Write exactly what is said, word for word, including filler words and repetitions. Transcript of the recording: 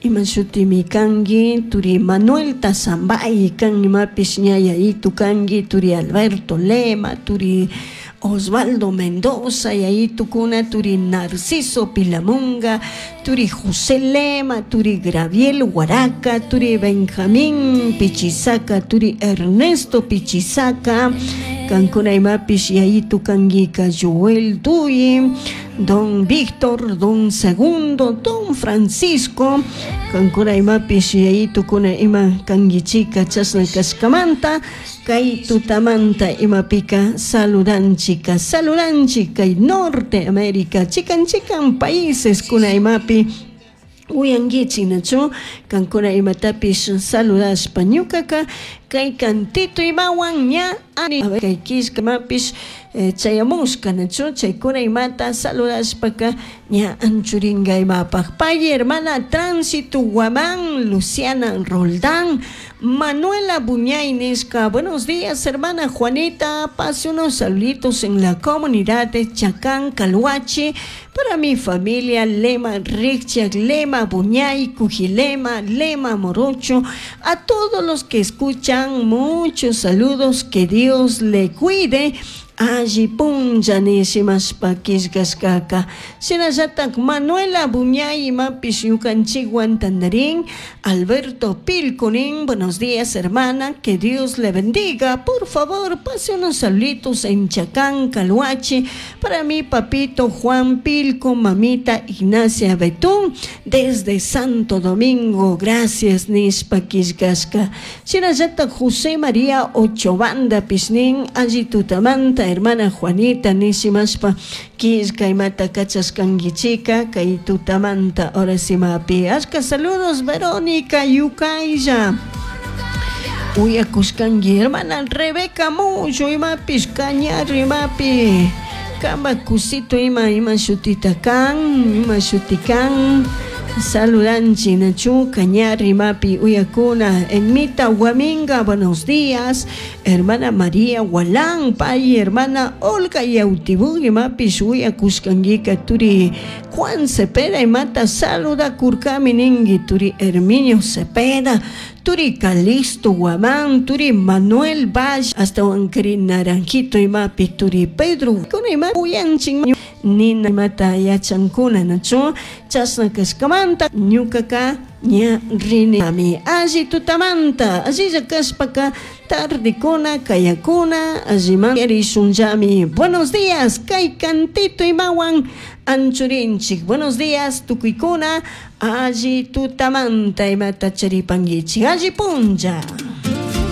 Ima shutimi kanki turi Manuel Tazambay kan imapish ña yayitu kanki turi Alberto Lema turi Osvaldo Mendoza yayitukuna turi Narciso Pilamunga turi José Lema turi Graviel Huaraca turi Benjamín Pichisaca turi Ernesto Pichisaca kankuna imapish yayitu kankika Joel Duyi Don Víctor, Don Segundo, Don Francisco kankuna imapish yayitukuna ima kankichika chashna kashkamanta kay tutamanta imapika saludanchika saludanchik kay Norte América chikan chikan países kuna imapi uyankichik nachu kankuna imatapish saludashpa ñukaka kay cantito imawan ña kay killka imapish chayamushka nachu chaykuna imata saludashpaka ña anchuringa imapaq pay hermana Tránsito Guamán Luciana Roldán Manuela Buñay nishka buenos días hermana Juanita pase unos saluditos en la comunidad de Chacán Calhuachi para mi familia Lema Richard Lema Buñay Cujilema Lema Morocho a todos los que escuchan muchos saludos que Dios le cuide alli punlla nishimashpa killkashkaka shinallatak Manuela Buñay imapish ñukanchikwan tandarin Alberto Pilconín buenos días hermana que Dios le bendiga por favor pase unos saluditos en Chacán Calhuachi para mi papito Juan Pilco mamita Ignacia Betún desde Santo Domingo gracias nishpa killkashka shinallatak José María Ochobanda pishnin alli tutamanta hermana Juanita nishimashpa killka imata kachashkankichika kay tutamanta ahora simapi ashka saludos Verónica Yukaylla uyakushkanki hermana Rebeca Mullo imapish Cañar imapi kama kusito ima ima shutita kan ima shuti kan saludanchi nachu Cañar imapi uyakuna Enmita Huaminga buenos días hermana María Gualán pay hermana Olga Yautibú imapish uyakushkankika turi Juan Cepeda imata saluda kurkami ninki turi Herminio Cepeda turi Calixto Guamán turi Manuel Valle hasta wankari Naranjito imapi turi Pedro kuna ima uyanchin nina imata yachankuna nachu chashna kashkamanta ñukaka ña rini ami alli tutamanta allilla kashpaka tardekuna kayakuna alliman rishunllami buenos días kay cantito imawan anchurinchik buenos días tukuykuna alli tutamanta imata charipankichik alli punlla.